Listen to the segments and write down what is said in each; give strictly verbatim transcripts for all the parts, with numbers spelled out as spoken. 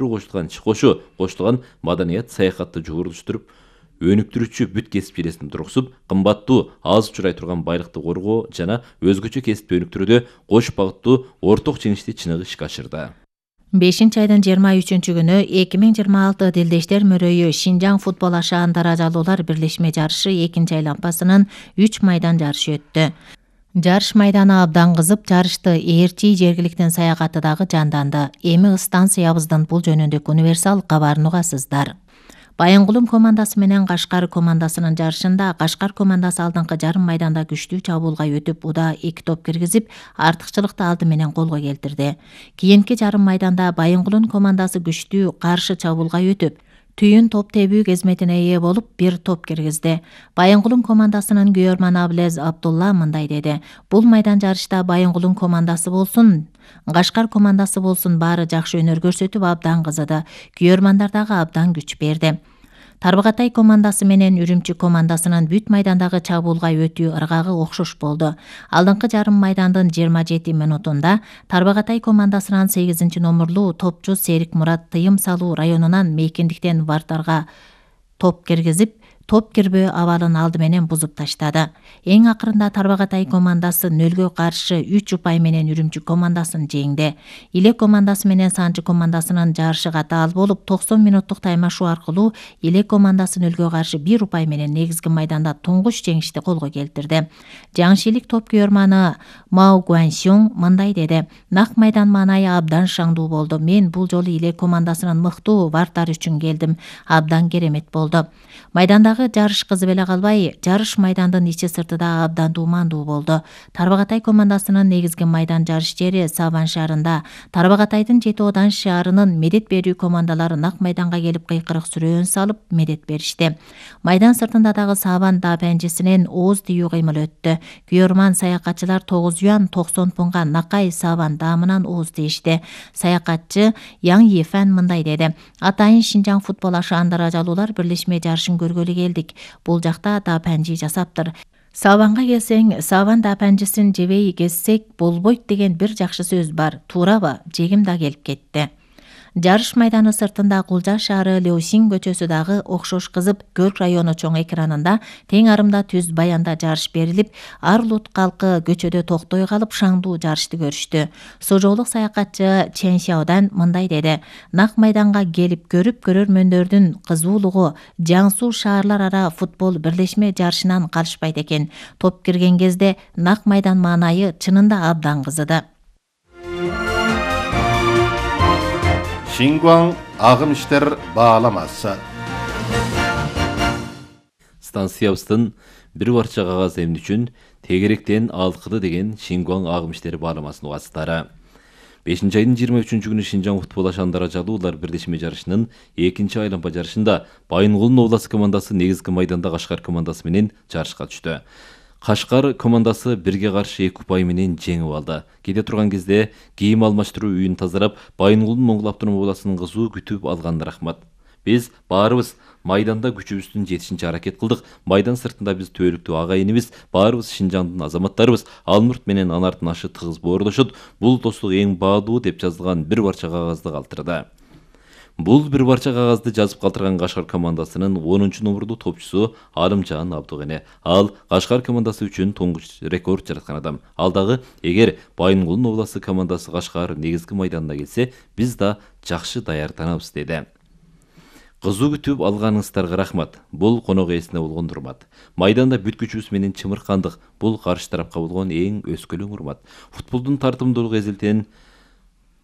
кошулган иш кошо кошулган маданият саякатты жогорулуштуруп, өнүктүрүүчү бүт кесип ээлесин тургузуп, кымбаттуу аз учурай турган байлыкты коргоо жана өзгөчө кесипти өнүктүрүүдө кош багыттуу орток жеңишти чыныгы ишке ашырды. бешинчи айдын жыйырма үчүнчү күнү эки миң жыйырма алты Дилдештер мөрөйү Шинжаң футбол ашаан даражалуулар бирлешме жарышы экинчи айланпасынын үч майдан жарышы өттү. Жарыш майданы абдан кызып, жарышты ээрчи жергиликтин саякаты дагы жанданды. Эми станциябыздын бул жөнүндөгү универсал кабарын угасыздар. Байынгулум командасы менен Кашкар командасынын жарышында Кашкар командасы алдыңкы жарым майданда күчтүү чабуулга өтүп, уда эки топ киргизип, артыкчылыкты алды менен колго келтирди. Кийинки жарым майданда Байынгулун командасы күчтүү каршы чабуулга өтүп, түйүн топ тебүү кезметине ээ болуп, бир топ киргизди. Байынгулун командасынын күйөрманы Аблез Абдулла мындай деди: "Бул майдан жарышта Байынгулун командасы болсун, Кашкар командасы болсун, баары жакшы өнөр көрсөтүп, абдан кызыды. Күйөрмандар дагы абдан күч берди. Тарбагатай командасы менен Үрүмчү командасынын бүт майдандагы чабуулга өтүү ыргагы окшош болду. Алдыңкы жарым майдандын жыйырма жети минутунда Тарбагатай командасынын сегизинчи номерлуу топчу Серик Мурат тыйым салуу районунан мейкиндиктен вартарга топ киргизип, топ кирбөө абалын алды менен бузуп таштады. Эң акырында Тарбагатай командасы нөлгө каршы үч упай менен Үрүмчү командасын жеңди. Иле командасы менен Санчы командасынын жарышыга таал болуп, токсон минуттук таймашуу аркылуу Иле командасы нөлгө каршы бир упай менен негизги майданда туңгуч жеңишти колго келтирди. Жаңшилик топ күйөрманы Мао Гуаньсюң мындай деди: "Нак майдан маанайы абдан шаңдуу болду. Мен бул жолу Иле командасынын мыктуу вартары үчүн келдим. Абдан керемет болду. Майдандагы жарыш кызып эле калбай, жарыш майдандын ичи сырты да абдан дуумандуу болду. Тарбагатай командасынын негизги майдан жарыш жери Сабан шаарында. Тарбагатайдын Жети Одан шаарынын медет берүү командалары нак майданга келип кыйкырык сүрөөн салып медет беришти. Майдан сыртында дагы Сабан дапанжисинен ооз тийүү кыймыл өттү. Күйөрман саякатчылар тогуз юан токсон пунга Накай Сабан даамынан ооз тийишти. Саякатчы Яң Ефан мындай деди: "Атайын Шинжаң футбол ашаан даражалуулар бирлешме жарышын көргөлү келдик. Бул жакта дапанжи жасаптыр. Сабанга келсең, Сабан дапанжиsin жебей кезсек болбойт деген бир жакшы сөз бар. Туурабы? Жегим да келип кетти." Жарыш майданы сыртында Кулжа шаары Леосин көчөсү дагы окшош кызып, Көлк району чоң экранында тең арымда түз баянда жарыш берилип, ар улут калкы көчөдө токтой калып шаңдуу жарышты көрүштү. Сожоолук саякатчы Чен Сяодан мындай деди: "Нак майданга келип көрүп, көрөрмөндөрдүн кызуулугу Жан Су шаарлар ара футбол бирлешме жарышынан калышпайт экен. Топ кирген кезде нак майдан маанайы чынында абдан кызыды." Шингуаң агым иштер бааламасы. Станциябыздын бир барча кагаз эмне үчүн тегеректен алкыды деген Шингуаң агым иштери бааламасын угасыздары. бешинчи айдын жыйырма үчүнчү күнү Шинжаң футбол ашаан даражалуулар бирлешме жарышынын экинчи айланма жарышында Байынгулдун областык командасы негизги майданда Кашкар командасы менен жарышка түштү. Кашкар командасы бирге каршы эки упай менен жеңип алды. Кете турган кезде кийим алмаштыруу үйүн тазалап, Байынгулдун Моңгул автономия областынын кызуу күтүп алганына рахмат. Биз баарыбыз майданда күчүбүздүн жетишинче аракет кылдык. Майдан сыртында биз төөлүктүү агайыныбыз, баарыбыз Шинжаңдын азаматтарыбыз, Алмурт менен Анардын ашы тыгыз боордошот. Бул достук эң баалуу деп жазылган бир барча кагазды калтырды. Бул бир барча кагазды жазып калтырган Кашкар командасынын онунчу номерлуу топчусу Алымжан Абдыгене. Ал Кашкар командасы үчүн туңгуч рекорд жараткан адам. Ал дагы эгер Байынгулдун областык командасы Кашкар негизги майданына келсе, биз да жакшы даярданабыз деди. Кызуу күтүп алганыңыздарга рахмат. Бул конок ээсине болгон урмат. Майданда бүт күчүбүз менен чымыркандык. Бул каршы тарапка болгон эң өскөлөң урмат. Футболдун тартымдуулугу эзилтен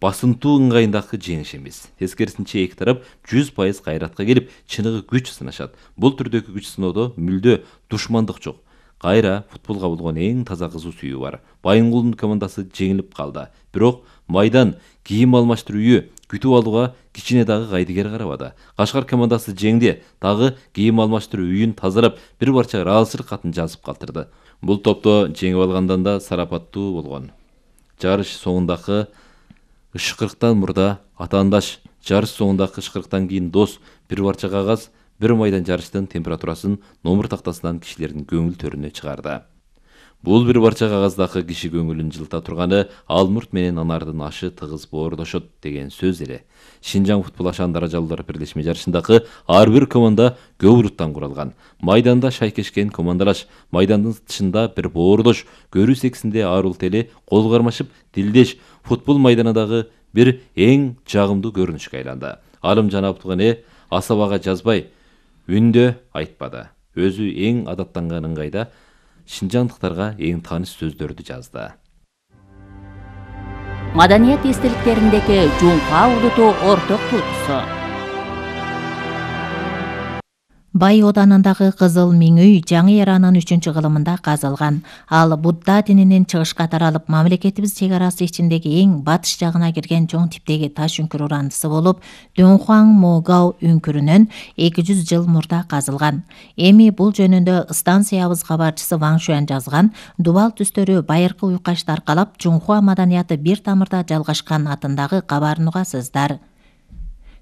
басынтуу ыңгайындагы жеңиш эмес. Тескерисинче эки тарап жүз пайыз кайратка келип, чыныгы күч сынашат. Бул түрдөгү күч сыноодо мүлдө душмандык жок. Кайра футболго болгон эң таза кызуу сүйүү бар. Байынгулдун командасы жеңилип калды. Бирок майдан кийим алмаштыруу үйү күтүп алууга кичине дагы кайдыгер карабады. Кашкар командасы жеңди, дагы кийим алмаштыруу үйүн тазалап, бир барча ыраазычылык катын жазып калтырды. Бул топто жеңип алгандан да сарапаттуу болгон. Жарыш соңундагы ышкырыктан мурда атаандаш, жарыш соңундагы ышкырыктан кийин дос, бир барча кагаз, бир майдан жарыштын температурасын номер тактасынан кишилердин көңүл төрүнө чыгарды. Бул бир парча кагаздагы киши көңүлүн жылыта турганы Алмурт менен Анардын ашы тыгыз боордошот деген сөз эле. Шинжаң футбол ашаан даражалуулар бирлешме жарышындагы ар бир команда көбүрүттан куралган. Майданда шайкешкен командалаш, майдандын тышында бир боордош, көрүү сексинде арул тели кол кармашып, тилдеш футбол майданындагы бир эң жагымдуу көрүнүшкө айланды. Алымжан Абдыгане асабага жазбай, үндө айтпады. Өзү эң адаттанган ыңгайда шинжаңдыктарга эң тааныш сөздөрдү жазды. Маданият эстеликтериндеги Жуңка улуту орток туутусу. Бай оданындагы Кызыл Миң үй жаңы эранын үчүнчү кылымында казылган. Ал Будда дининин чыгышка таралып, мамлекетибиз чек арасы ичиндеги эң батыш жагына кирген чоң типтеги таш үңкүр урандысы болуп, Дунхуан Могау үңкүрүнөн эки жүз жыл мурда казылган. Эми бул жөнүндө станциябыз кабарчысы Ваң Шуан жазган. Дубал түстөрү байыркы уйкашты аркалап, Жунхуа маданияты бир тамырда жалгашкан атындагы кабарын угасыздар.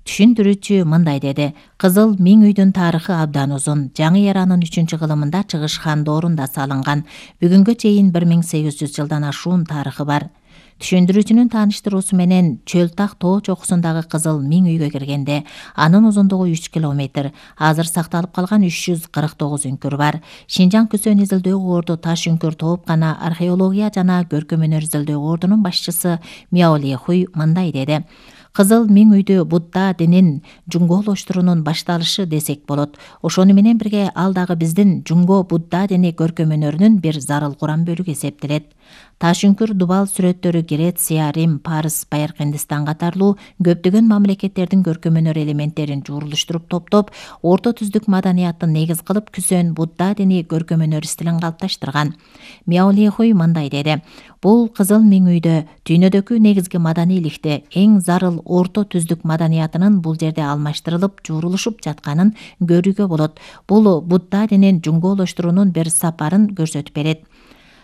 Түшүндүрүүчү мындай деди: Кызыл Миң үйдүн тарыхы абдан узун. Жаңы эранын үчүнчү кылымында чыгыш хан доорунда салынган. Бүгүнгө чейин бир миң сегиз жүз жылдан ашуун тарыхы бар. Түшүндүрүүчүнүн тааныштыруусу менен Чөлтак тоо чокусундагы Кызыл Миң үйгө киргенде анын узундугу үч километр, азыр сакталып калган үч жүз кырк тогуз үңкүр бар. Шинжаң Күсөн изилдөө орду таш үңкүр тоопкана археология жана көркөм өнөр изилдөө ордунун башчысы Мяо Лехуй мындай деди: Кызыл Миң үйдү Будда динин жуңголоштуруунун башталышы десек болот. Ошону менен бирге ал дагы биздин жуңго Будда дини көркөм өнөрүнүн бир зарыл курам бөлүгү эсептелет. Таш үңкүр дубал сүрөттөрү Греция, Рим, Парс, Байыркы Индистан катарлуу көптөгөн мамлекеттердин көркөм өнөр элементтерин жуурулуштуруп топтоп, орто түздүк маданияттын негиз кылып Күсөн Будда дини көркөм өнөр стилин калыпташтырган. Мяо Лехуй мындай деди: Бул Кызыл Миң үйдө дүйнөдөгү негизги маданийликте эң зарыл орто түздүк маданиятынын бул жерде алмаштырылып, жуурулушуп жатканын көрүүгө болот. Бул Будда динин жуңголоштуруунун бир сапарын көрсөтүп берет.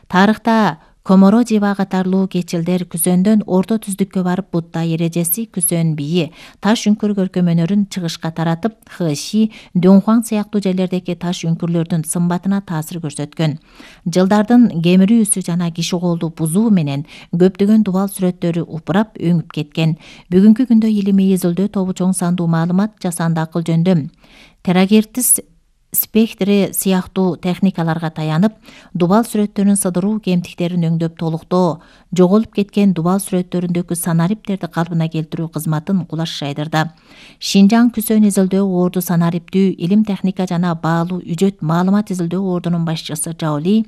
Тарыхта Коморо Жива катарлуу кечилдер Күсөндөн орто түздүккө барып Будда эрежеси, Күсөн бийи, таш үңкүр көркөм өнөрүн чыгышка таратып, Хэши, Дунхуан сыяктуу жерлердеги таш үңкүрлөрдүн сымбатына таасир көрсөткөн. Жылдардын кемирүү үсү жана киши колду бузуу менен көптөгөн дубал сүрөттөрү упурап өңүп кеткен. Бүгүнкү күндө илимий изилдөө тобу чоң сандуу маалымат жасанды акыл жөндөм терагертис спектри сыяктуу техникаларга таянып, дубал сүрөттөрүн сыдыруу кемтиктерин өңдөп толуктоо, жоголуп кеткен дубал сүрөттөрүндөгү санариптерди калпына келтирүү кызматын кулаш жайдырды. Шинжаң Күсөн изилдөө орду санариптүү илим техника жана баалуу үжөт маалымат изилдөө ордунун башчысы Жаоли,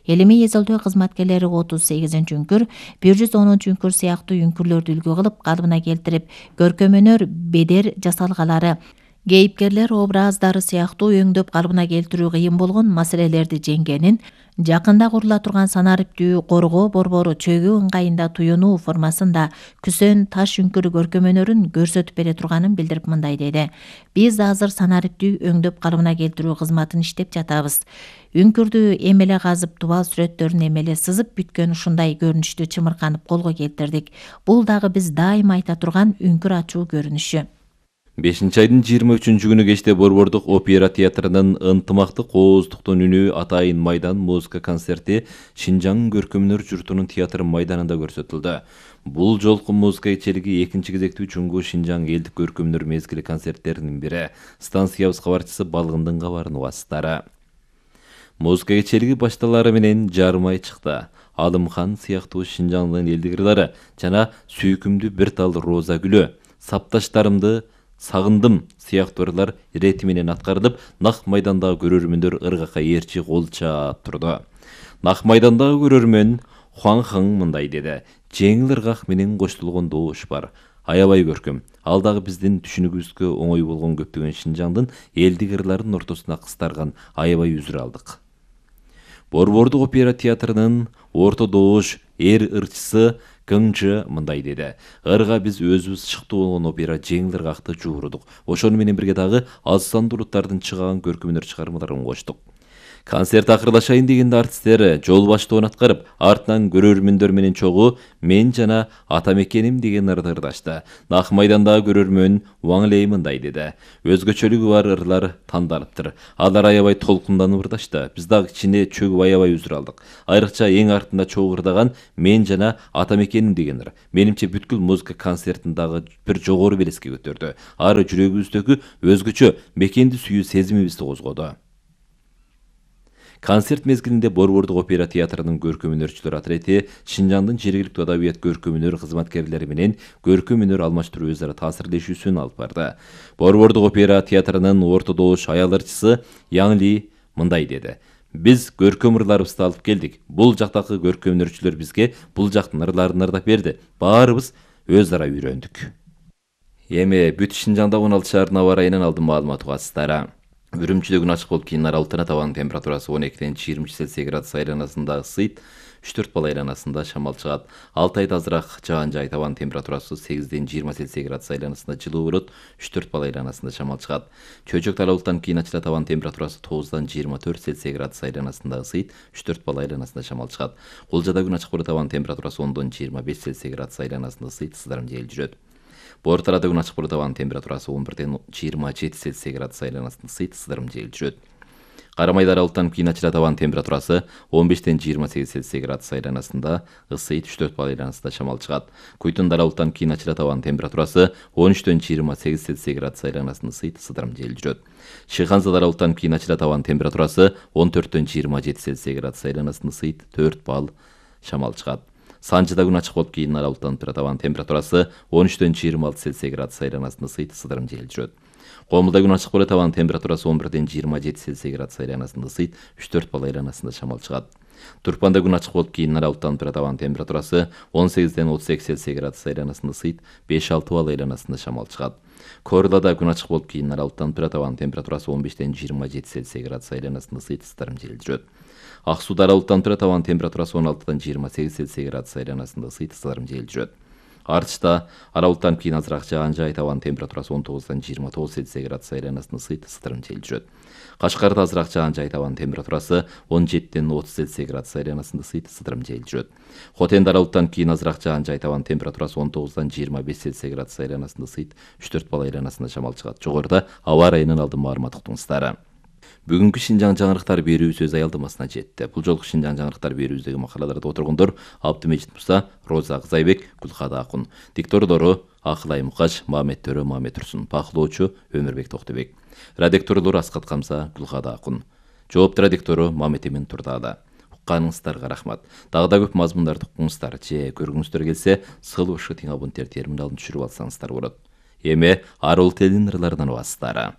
илимий изилдөө кызматкерлери отуз сегизинчи үңкүр, бир жүз онунчу үңкүр сыяктуу үңкүрлөрдү үлгү кылып калпына келтирип, көркөм өнөр бедер жасалгалары, кейипкерлер образдары сыяктуу өңдөп калпына келтирүү кыйын болгон маселелерди жеңгенин, жакында курула турган санариптүү коргоо борбору чөгүү ыңгайында туюнуу формасында Күсөн таш үңкүр көркөм өнөрүн көрсөтүп бере турганын билдирип мындай деди: Биз азыр санариптүү өңдөп калпына келтирүү кызматын иштеп жатабыз. Үңкүрдү эмеле казып, дубал сүрөттөрүн эмеле сызып бүткөн ушундай көрүнүштү чымырканып колго келтирдик. Бул дагы биз дайыма айта турган үңкүр ачуу көрүнүшү. бешинчи айдын жыйырма үчүнчү күнү кечте Борбордук опера театрынын ынтымактык ооздуктун үнү атайын майдан музыка концерти Шинжаң көркөм өнөр журтунун театр майданында көрсөтүлдү. Бул жолку музыка кечелиги экинчи кезектүү чуңгу Шинжаң элдик көркөм өнөр мезгили концерттеринин бири. Станциябыз кабарчысы Балгындын кабарын угасыздары. Музыка кечелиги башталары менен жарымай чыкты. Алымхан сыяктуу Шинжаңдын элдик ырлары жана Сүйкүмдү бир тал роза гүлү, Сапташтарымды сагындым сыяктуу ырлар ирети менен аткарылып, нак майдандагы көрөрмөндөр ыргакка ээрчи кол чаап турду. Нак майдандагы көрөрмөн Хуан Хың мындай деди: Жеңил ыргак менен коштулгон добуш бар. Аябай көркөм. Ал дагы биздин түшүнүгүбүзгө оңой болгон көптөгөн Шинжаңдын элдик ырларын ортосуна кыстарган аябай үзүр алдык. Борбордук опера театрынын орто добуш эр ырчысы Кыңчы мындай деди: Ырга биз өзүбүз шыктуу болгон опера жеңил ыргакты жуурудук. Ошону менен бирге дагы аз сандуу улуттардын чыгаган көркөм өнөр чыгармаларын коштук. Концерт акырдашайын дегенде артисттер жол баштоон аткарып, артынан көрөрмөндөр менен чогуу «Мен жана атам экеним» деген ырды ырдашты. Нак майдандагы көрөрмөн Ваң Лей мындай деди: «Өзгөчөлүгү бар ырлар тандалыптыр. Алар аябай толкунданып ырдашты. Биз дагы кичине чөгүп аябай үзүр алдык. Айрыкча эң артында чогуу ырдаган «Мен жана атам экеним» деген ыр. Менимче бүткүл музыка концертиндагы бир жогору белеске көтөрдү. Ары жүрөгүбүздөгү өзгөчө мекенди сүйүү сезимибизди козгоду». Концерт мезгилинде Борбордук опера театрынын көркөм өнөрчүлөр отрети Шинжаңдын жергиликтүү адабият көркөм өнөр кызматкерлери менен көркөм өнөр алмаштыруу өз ара таасирлешүүсүн алып барды. Борбордук опера театрынын орто добуш аял ырчысы Яң Ли мындай деди: «Биз көркөм ырларыбызды алып келдик. Бул жактагы көркөм өнөрчүлөр бизге бул жактын ырларын ырдап берди. Баарыбыз өз ара үйрөндүк». Эми бүт Шинжаңда он алты шаардын аба ырайынан алдын маалымат угасыздар. Үрүмчүдө күн ачык болуп кийин аралыктан табан температурасы он экиден жыйырма үч Цельсий градус айланасында ысыйт, үч төрт балл айланасында шамал чыгат. Алтайда азыраак жаан жай, табан температурасы сегизден жыйырма Цельсий градус айланасында жылуу болот, үч төрт балл айланасында шамал чыгат. Чөйчөк аралыктан кийин ачыла, табан температурасы тогуздан жыйырма төрт Цельсий градус айланасында ысыйт, үч төрт балл айланасында шамал чыгат. Кулжада күн ачык болуп, табан температурасы ондон жыйырма беш Цельсий градус айланасында ысыйт, сыздарым жел жүрөт. Бортарада күн ачык болуп, табан температурасы он бирден жыйырма жети Цельсий градус айланасында ысыйт, сыздарым жел жүрөт. Карамайда аралыктан кийин ачыла, табан температурасы он бештен жыйырма сегиз Цельсий градус айланасында ысыйт, үч төрт балл айланасында шамал чыгат. Куйтунда аралыктан кийин ачыла, табан температурасы он үчтөн жыйырма сегиз Цельсий градус айланасында ысыйт, сыздарым жел жүрөт. Шыйханзада аралыктан кийин ачыла, табан температурасы он төрттөн жыйырма жети Цельсий градус айланасында ысыйт, төрт балл шамал чыгат. Санжыда күн ачык болуп, кийин аралыктан табан температурасы он үчтөн жыйырма алты Цельсий градус айланасында ысыйт, сыздарым жел жүрөт. Комулда күн ачык болуп, табан температурасы он бирден жыйырма жети Цельсий градус айланасында ысыйт, үч төрт балл айланасында шамал чыгат. Турпанда күн ачык болуп, кийин аралыктан табан температурасы он сегизден отуз эки Цельсий градус айланасында ысыйт, беш алты балл айланасында шамал чыгат. Корлада күн ачык болуп, кийин аралыктан табан температурасы он бештен жыйырма жети Цельсий градус айланасында ысыйт, сыздарым жел жүрөт. Ак сууда аралыктан табан температурасы он алтыдан жыйырма сегиз Цельсий градус айланасында ысыйт, сыздарым жел жүрөт. Артышта аралыктан кийин азыраак жаан жай, табан температурасы он тогуздан жыйырма тогуз Цельсий градус айланасында ысыйт, сыздарым жел жүрөт. Кашкарда азыраак жаан жай, табан температурасы он жетиден отуз Цельсий градус айланасында ысыйт, сыздарым жел жүрөт. Хотенде аралыктан кийин азыраак жаан жай, табан температурасы он тогуздан жыйырма беш Цельсий градус айланасында ысыйт, үч төрт балл айланасында шамал чыгат. Жогоруда аба ырайынан алдын маалымат уктуңуздар. Бүгүнкү Шинжаң жаңырыктар берүүбүз өз аялдамасына жетти. Бул жолку Шинжаң жаңырыктар берүүбүздөгү макалаларды отыргондор Абдымежит Муса, Роза Кызайбек, Гүлкада Акун. Диктордору Акылай Мукаш, Мамет Төрө, Мамет Турсун. Бакылоочу Өмүрбек Токтобек. Радикторлору Аскат Камса, Гүлкада Акун. Жоопту радиктору Мамет Эмин Турдаада. Укканыңыздарга рахмат. Дагы да көп мазмундарды укуңуздар же көргүңүздөр келсе, сыл ушку тиң абоненттер терминалын түшүрүп алсаңыздар болот. Эми арыл телинин ырларынан угасыздар.